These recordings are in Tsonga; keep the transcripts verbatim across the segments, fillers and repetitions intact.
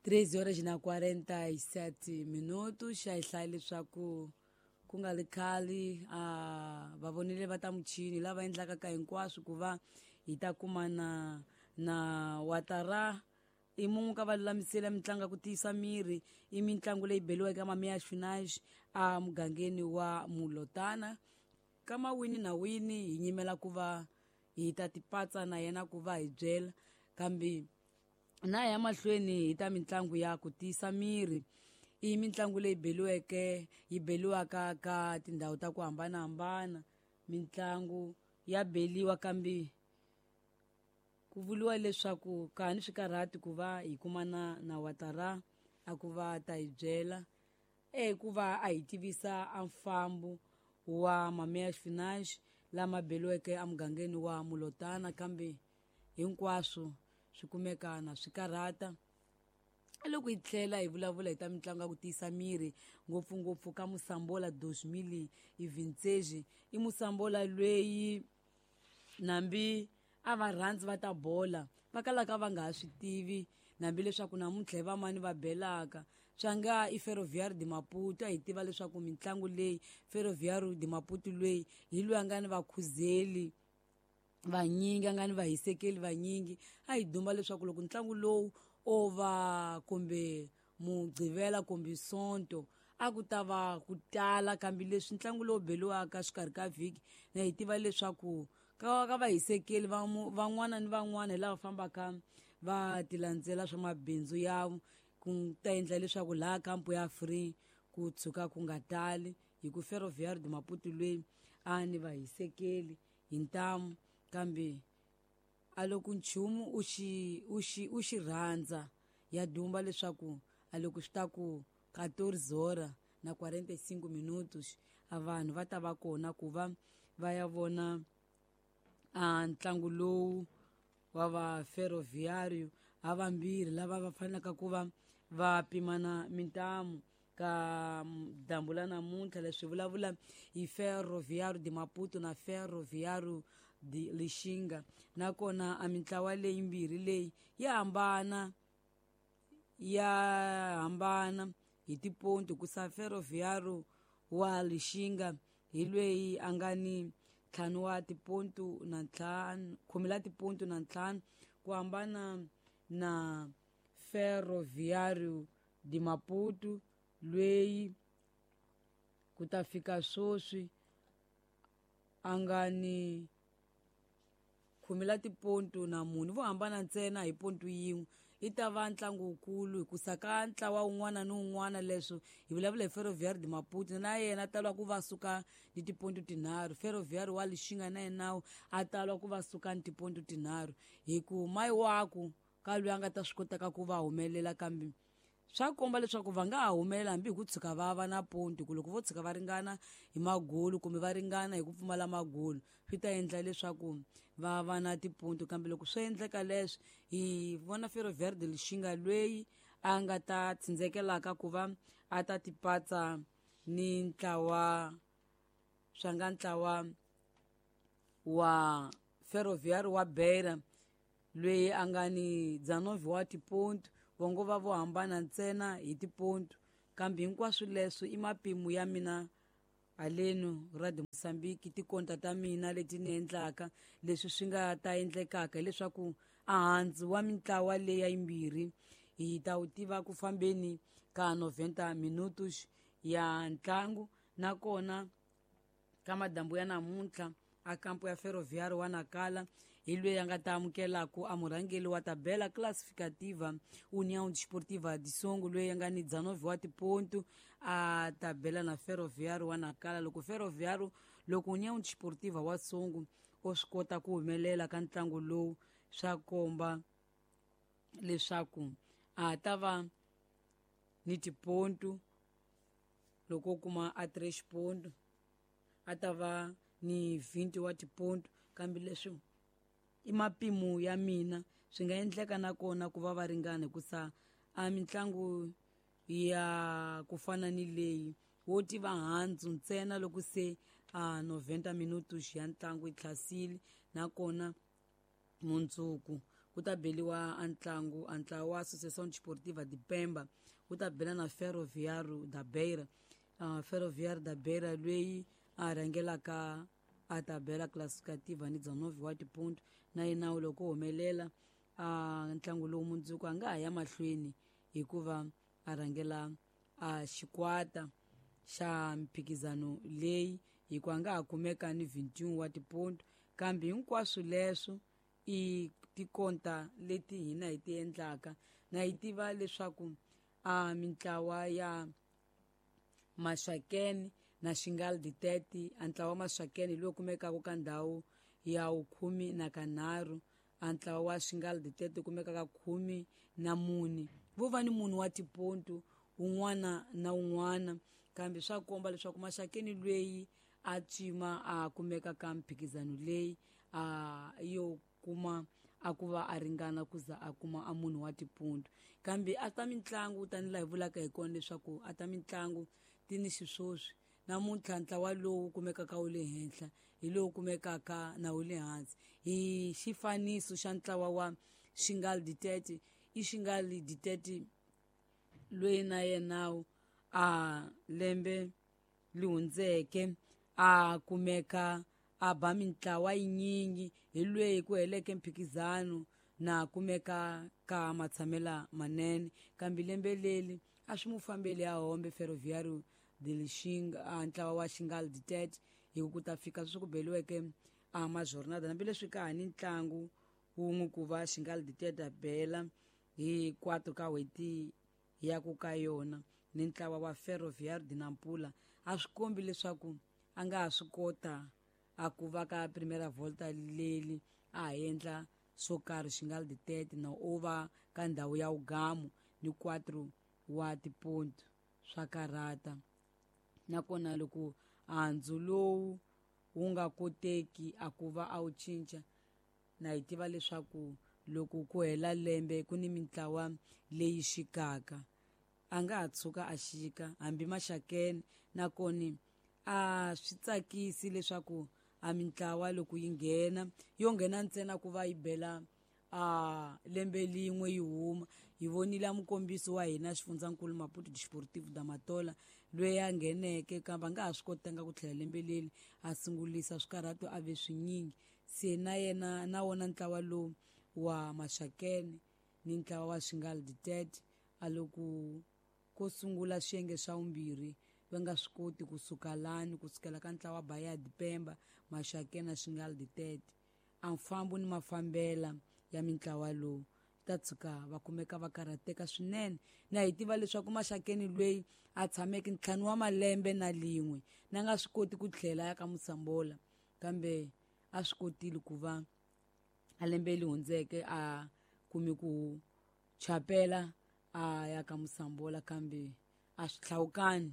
treze horas na quarenta e sete minutos. A hi hlaya leswaku ku nga ri khale a va vonile va ta muchini lava endlaka ka hinkwaswo ku va hi ta kuma na na watara i mun'we ka va lulamisela mitlangu ya ku tiyisa miri i mitlangu leyi beliweke mamiya finage a mugangeni wa Mulotana ka mawini na wini hi nyimela ku va hi ta tipatsa na yena ku va hi byela kambe na ya mahlweni hi ta mitlangu ya ku tiyisa miri i mitlangu leyi beliweke yi beliwaka ka tindhawu ta ku hambanahambana mitlangu ya beliwa kambe ku vuriwa leswaku ka ni swikarhati ku va hi kumana na watara a ku va ta hi byela e ku va a hi tivisa a mfambo wa Mamea Finage lama beliweke emugangeni wa Mulotana kambe hinkwaswo swi kumeka na swikarhata. Loko hi tlhela hi vulavula hi ta mitlangu ya ku tiyisa miri ngopfungopfu ka Musambola dois mil e vinte e seis i Musambola lweyi nambi a va rhandzi va ta bola va kalaka va nga ha swi tivi nambi leswaku namuntlha hi vamani va belaka swa nga i Ferroviário de Maputo. A hi tiva leswaku mitlangu leyi Ferroviário de Maputo lweyi hi loyi a nga ni vakhuzeli vanyingi a nga ni vahisekeli vanyingi a hi duma leswaku loko ntlangu lowu o va kumbe Mugqivela kumbe Sonto a ku ta va ku tala kambe leswi ntlangu lowu beliwaka xikarhi ka vhiki na hi tiva leswaku ka ka vahisekeli van'wana ni van'wana hi lava fambaka va ti landzela swa mabindzu ya ku ta endla leswaku laha kampo ya free ku tshuka ku nga tali hi ku Ferroviário de Maputo lweyi a ni vahisekeli hi ntamu kambe a loko nchumu u xi u xi u xi rhandza ya dumba leswaku a loko swi ta ku quatorze horas na quarenta e cinco minutos a vanhu va ta va kona ku va va ya vona a ntlangu lowu wa va Ferroviário ha vambirhi lava va fanelaka ku va va pimana mintamu ka dyambu la namuntlha. Leswi vulavula hi Ferroviário de Maputo na Ferroviário de Lixinga nakona a mintlawa leyi mbirhi leyi ya hambana ya hambana hi tiponti ku sa Ferroviário wa Lixinga hi lweyi a nga ni ntlhanu wa tipontu na ntlhanu khume la tipontu na ntlhanu ku hambana na Ferroviário de Maputo lweyi ku ta fika sweswi a nga ni khume la tipontu na mune vo hambana ntsena hi pontu yin'we. I ta va ntlangu wukulu hikusa ka ntlawa wun'wana ni wun'wana leswo hi vulavula hi Ferroviário de Maputo na yena a talwa ku va suka ni tipontu tinharhu Ferroviário wa Lixinga na yena a talwa ku va suka ni tipontu tinharhu hi ku mayi waku ka loyi a nga ta swi kotaka ku va humelela kambe swa komba leswaku va nga ha humelela hambi hi ku tshuka va va na pontu ku loko vo tshuka va ringana hi magulu kumbe va ringana hi ku pfumala magulu swi ta endla leswaku va va na tipontu kambe loko swi endleka leswi hi vona Ferroviário de Lixinga lweyi a nga ta tsindzekelaka ku va a ta tipatsa ni ntlawa swa nga ntlawa wa Ferroviário wa Beira lweyi a nga ni dezenove wa tipontu vongo va vo hambana ntsena hi tipontu kambe hinkwaswo leswi i mapimo ya mina halenu Radio Mozambique tikonta ta mina leti ni endlaka leswi swi nga ta endlekaka hileswaku ahandzu wa mintlawa leyi ya yimbirhi hi ta wu tiva ku fambeni ka noventa minutos ya ntlangu nakona ka madambu ya namuntlha a kampo ya Ferroviário wa Nacala hi loyi a nga ta amukelaku a murhangeri wa tabela classificativa União Desportiva de Songo loyi a nga ni dezenove wa tipontu a tabela na Ferroviário wa Nacala. Loko Ferroviário loko União Desportiva wa Songo o swi kota ku humelela ka ntlangu lowu swa komba leswaku a ta va ni tipontu loko o kuma a três ponto a ta va ni vinte wa tipontu kambe leswi i mapimo ya mina swi nga endleka nakona ku va va ringana hikusa a mitlangu ya ku fana ni leyi wo tiva handzu ntsena loko se a noventa minutos ya ntlangu yi tlhasile nakona mundzuku ku ta beliwa a ntlangu a ntlawa wa Associação Desportiva de Pemba wu ta bela na Ferroviário da Beira. Uh, Ferroviário da Beira loyi a rhangelaka a tabela classificativa ni dezenove wa tiponto na yena loko humelela a ntlangu lowu mundzuku a nga ha ya mahlweni hikuva a rhangela a xikwata xa mphikizano leyi hikuva a nga ha kumeka ni vinte e um wa tiponto kambe hinkwaswo leswo i tikonta leti hina hi ti endlaka na hi tiva leswaku a mintlawa ya Maxakeni na Xingal Ditete a ntlawa wa Maxakeni lowu kumekaka ka ndhawu ya vukhume na kanharhu a ntlawa wa Xingal Ditete kumekaka khume na mune vo va ni munhu wa tiponto un'wana na un'wana kambe swa komba leswaku Maxakeni loyi a cima a kumeka ka mphikizano leyi a yo kuma a ku va a ringana ku za a kuma a munhu wa tiponto kambe a ta mitlangu tanihi laha hi vulaka hi kona leswaku a ta mitlangu ti ni xiswoswi namuntlha ntlawa lowu kumekaka wu le henhla hi lowu kumekaka na wu le hansi hi xifaniso xa ntlawa wa Xingal Ditete i Xingal Ditete loyi na yena a lembe li hundzeke a kumeka a ba mintlawa yinyingi hi lweyi ku heleke mphikizano na kumeka ka matshamela manene kambe lembe leli a swi mu fambeli a hombe Ferroviário de Lixinga a ntlawa wa Xingal Ditete hi ku ta fika sweswi ku beliweke a majornada hambileswi ka ha ni ntlangu wun'we ku va Xingal Ditete a bela hi quatro ka n'hweti ya ku ka yona ni ntlawa wa Ferroviário de Nampula a swi kombi leswaku a nga ha swi kota a ku va ka primera volta leli a ha endla swo karhi Xingal Ditete na o va ka ndhawu ya ugamu ni quatro wa tiponto swa karata nakona loko handzu lowu wu nga koteki a ku va a wu cinca na hi tiva leswaku loko ku hela lembe ku ni mintlawa leyi xikaka a nga ha tshuka a xika hambi Maxakeni nakona a swi tsakisi leswaku a mintlawa loko yi nghena yo nghena ntsena ku va yi bela a lembe lin'we yi huma hi vonile mukombiso wa hina xifundzankulu Maputo Desportivo da Matola loyi a ngheneke kambe a nga ha swi kotanga ku tlhela lembe leli a sungulisa swikarhato a ve swinyingi se na yena na wona ntlawa lowu wa Maxakeni ni ntlawa wa Xingal Ditete a loko ko sungula swiyenge swa vumbirhi va nga swi koti kusuka lani kusukela ka ntlawa wa Bahia de Pemba Maxakeni na Xingal Ditete a mfambo ni mafambela ya mintlawa lowu ta tshuka va kumeka va karhateka swinene na hi tiva leswaku Maxakeni loyi a tshameke ntlhanu wa malembe na lin'we na nga swi koti ku tlhela ya ka Musambola kambe a swi kotile ku va a lembe li hundzeke a kumi ku chapela a ya ka Musambola kambe a swi hlawukani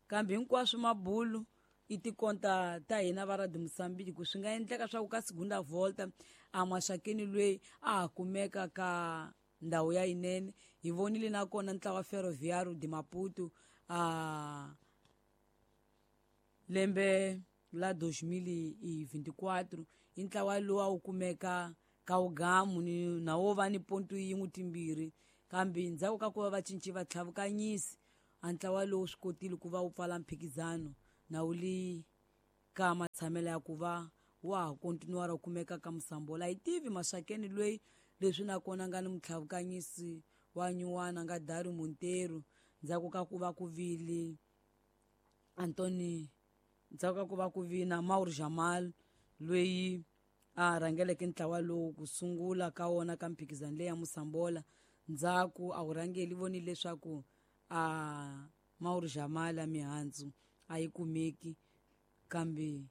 kambe hinkwaswo mabulu i tikonta ta hina va Radio Mozambique ku swi nga endleka swa ku ka segunda volta a Maxakeni loyi a ha kumeka ka ndhawu ya yinene hi vonile nakona ntlawa Ferroviário de Maputo a lembe la dois mil e vinte e quatro i ntlawa lowu a wu kumeka ka wugamu ni na wo va ni ponto yin'we timbirhi kambe ndzhaku ka ku va va cinci va tlhavukanyisi a ntlawa lowu swi kotile ku va wu pfala mphikizano na wu li ka matshamelo ya ku va wa ha kontinuwara wu kumeka ka Musambola hi tivi Maxakeni loyi leswi nakona nga ni mutlhavukanyisi wa nyuwana nga Dario Monteiro ndzhaku ka ku va ku vile Antoni ndzhaku ka ku va ku vina Mauro Jamal loyi a rhangeleke ntlawa lowu ku sungula ka wona ka mphikizano leyi ya Musambola ndzhaku a wu rhangeli vonile leswaku a Mauro Jamal a mihandzu a yi kumeki kambe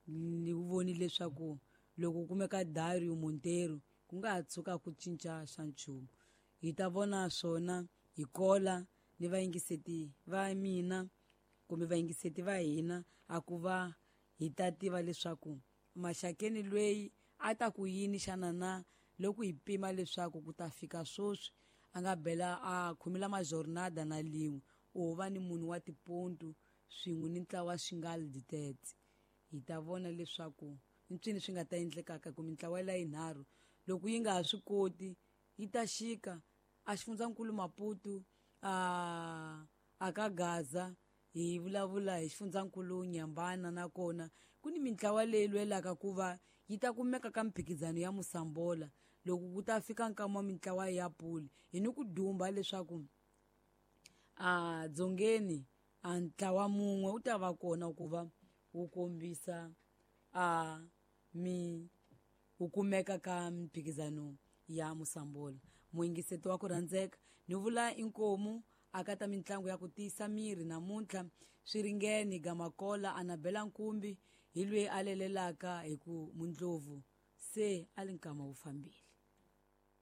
ni vonile leswaku loko kumeka Dario Monteiro ku nga ha tshuka ku cinca xa nchumu hi ta vona swona hi kola ni vayingiseti va mina kumbe vayingiseti va hina a ku va hi ta tiva leswaku Maxakeni loyi a ta ku yini xana na loko hi pima leswaku ku ta fika swoswi a nga bela a khumila majornada na lin'we u va ni munhu wa tiponto swin'we ni ntlawa wa Xingal Ditete hi ta vona leswaku ntswini swi nga ta endlekaka ku mintlawa la yinharhu Loko yi nga ha swi koti yi ta xika a xifundzankulu Maputo, a a ka Gaza, hi vulavula hi xifundzankulu Nyambana. Nakona ku ni mintlawa leyi lwelaka ku va yi ta kumeka ka mphikizano ya Musambola loko ku ta fika nkama wa mintlawa ya puli. Hi ni ku dumba leswaku a dzongeni a ntlawa mun'we wu ta va kona ku va wu kombisa a mi wu kumeka ka mphikizano ya Musambola. Muyingiseti wa ku rhandzeka, ni vula inkomu aka ta mitlangu ya ku tiyisa miri namuntlha swi ringene Gamakola Anabela Nkumbi hi loyi a lelelaka hi ku Mundlovu se a li nkama wu fambile.